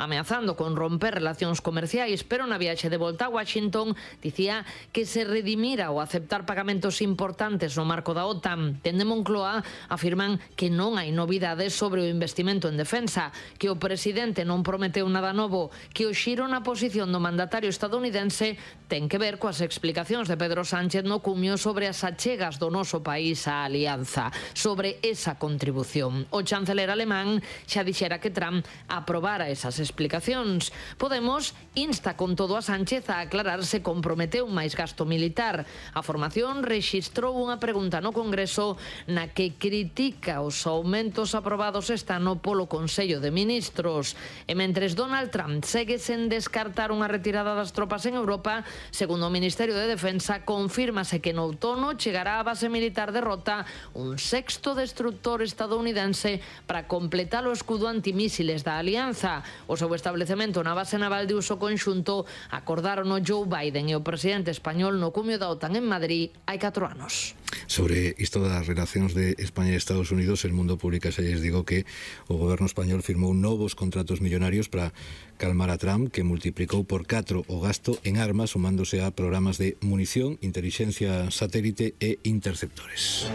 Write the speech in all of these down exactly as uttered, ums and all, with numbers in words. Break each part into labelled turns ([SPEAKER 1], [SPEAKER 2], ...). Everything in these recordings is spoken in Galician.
[SPEAKER 1] ameazando con romper relacións comerciais, pero na viaxe de volta a Washington dicía que se redimira o aceptar pagamentos importantes no marco da OTAN. Dende Moncloa afirman que non hai novidades sobre o investimento en defensa, que o presidente non prometeu nada novo, que o xiro na posición do mandatario estadounidense ten que ver coas explicacións de Pedro Sánchez no cumio sobre as achegas do noso país á alianza, sobre esa contribución. O chanceler alemán xa dixera que Trump aprobara esas explicacións. Podemos insta con todo a Sánchez a aclarar se comprometeu máis gasto militar. A formación rexistrou unha pregunta no Congreso na que critica os aumentos aprobados este ano polo Consello de Ministros. E mentres Donald Trump segue sen descartar unha retirada das tropas en Europa, segundo o Ministerio de Defensa, confírmase que no outono chegará á base militar de Rota un sexto destructor estadounidense para completar o escudo antimísiles da alianza. O seu establecemento na base naval de uso conxunto acordaron o Joe Biden e o presidente español no cumio da OTAN en Madrid hai catro anos.
[SPEAKER 2] Sobre isto das relacións de España e Estados Unidos, El Mundo publica, xa lles digo, que o goberno español firmou novos contratos millonarios para calmar a Trump, que multiplicou por catro o gasto en armas, sumándose a programas de munición, inteligencia satélite e interceptores.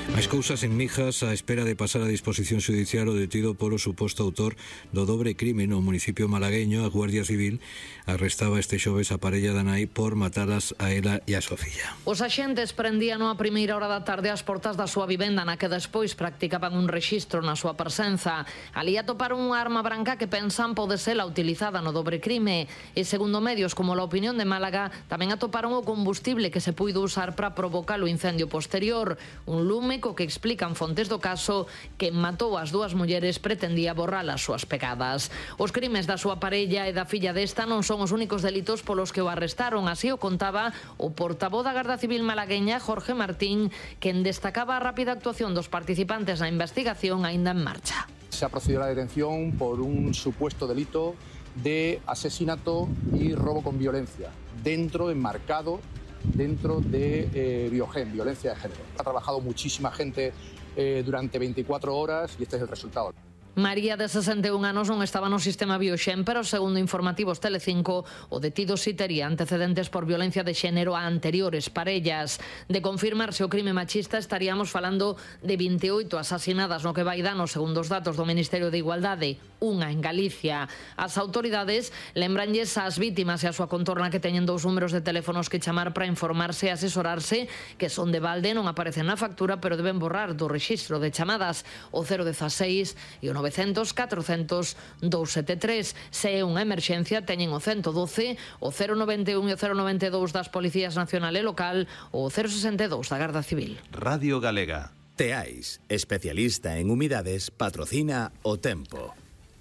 [SPEAKER 2] Máis cousas en Mijas, á espera de pasar a disposición xudicial o detido polo suposto autor do dobre crime no municipio malagueño. A Guardia Civil arrestaba este xoves a parella da nai por matalas a ela e a súa filla.
[SPEAKER 1] Os axentes prendían a primeira hora da tarde ás portas da súa vivenda, na que despois practicaban un rexistro na súa presenza. Alí atoparon unha arma branca que pensan pode ser a utilizada no dobre crime. E segundo medios como La Opinión de Málaga, tamén atoparon o combustible que se puido usar para provocar o incendio posterior. Un lume que explican fontes do caso que matou as dúas mulleres pretendía borrar as súas pegadas. Os crimes da súa parella e da filla desta non son os únicos delitos polos que o arrestaron, así o contaba o portavoz da Garda Civil malagueña, Jorge Martín, quen destacaba a rápida actuación dos participantes na investigación aínda en marcha.
[SPEAKER 3] Se ha procedido a la detención por un supuesto delito de asesinato y robo con violencia, dentro, enmarcado dentro de eh, Biogen, violencia de género. Ha trabajado muchísima gente eh, durante veinticuatro horas y este es el resultado.
[SPEAKER 1] María, de sesenta e un anos, non estaba no sistema Bioxen, pero segundo informativos Telecinco, o detido si tería antecedentes por violencia de xénero a anteriores parellas. De confirmarse o crime machista, estaríamos falando de vinte e oito asasinadas no que vai dano, segundo os datos do Ministerio de Igualdade, unha en Galicia. As autoridades lembranlles ás vítimas e a súa contorna que teñen dous números de teléfonos que chamar para informarse e asesorarse, que son de balde, non aparecen na factura, pero deben borrar do rexistro de chamadas o cero dieciséis e o novecientos, catrocentos, doscientos setenta e tres. Se é unha emerxencia, teñen o ciento doce, o cero noventa e un e o cero noventa e dous das Policías Nacional e Local, o cero sesenta e dous da Garda Civil.
[SPEAKER 4] Radio Galega. Teais, especialista en humidades, patrocina o tempo.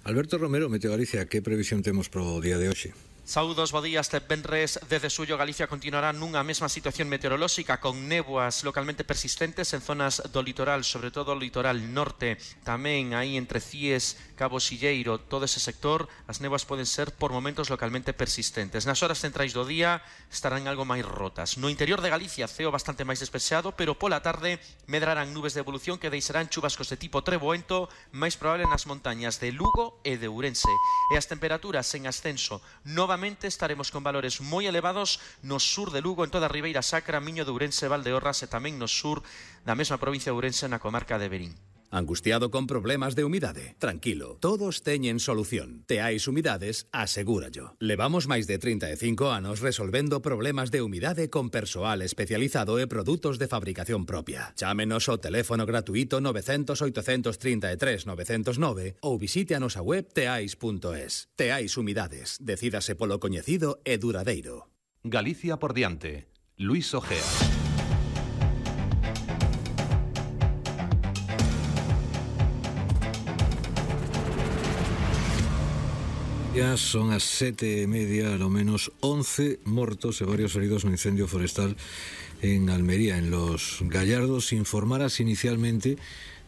[SPEAKER 2] Alberto Romero, Meteo Galicia, que previsión temos pro día de hoxe?
[SPEAKER 5] Saúdos, bo día. Este venres desde Suyo Galicia continuará nunha mesma situación meteorolóxica con néboas localmente persistentes en zonas do litoral, sobre todo o litoral norte, tamén aí entre Cies, Cabo Silleiro, todo ese sector, as néboas poden ser por momentos localmente persistentes. Nas horas centrais do día estarán algo máis rotas. No interior de Galicia, ceo bastante máis despexado, pero pola tarde medrarán nubes de evolución que deixarán chubascos de tipo treboento, máis probable nas montañas de Lugo e de Ourense. E as temperaturas en ascenso novamente estaremos con valores moi elevados no sur de Lugo, en toda a Ribeira Sacra, Miño de Ourense, Valdeorras e tamén no sur da mesma provincia de Ourense, na comarca de Verín.
[SPEAKER 4] Angustiado con problemas de humidade? Tranquilo, todos teñen solución. Teais Humidades, asegúrallo. Levamos máis de trinta e cinco anos resolvendo problemas de humidade con persoal especializado e produtos de fabricación propia. Chámenos ao teléfono gratuito nove cero cero, oito tres tres, nove cero nove ou visite a nosa web teais punto es. Teais Humidades, decídase polo coñecido e duradeiro.
[SPEAKER 6] Galicia por diante. Luis Ojea.
[SPEAKER 2] Ya son as sete e media, ao menos once mortos e varios heridos no incendio forestal en Almería, en Los Gallardos. Informaras inicialmente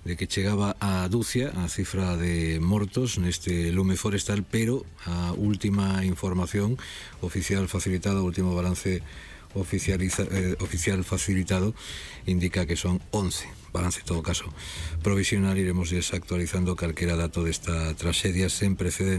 [SPEAKER 2] de que chegaba a dúcia a cifra de mortos neste lume forestal, pero a última información oficial facilitada, o último balance oficializa, eh, oficial facilitado indica que son once. Balance, en todo caso, provisional. Iremos desactualizando calquera dato desta traxedia sen precedentes.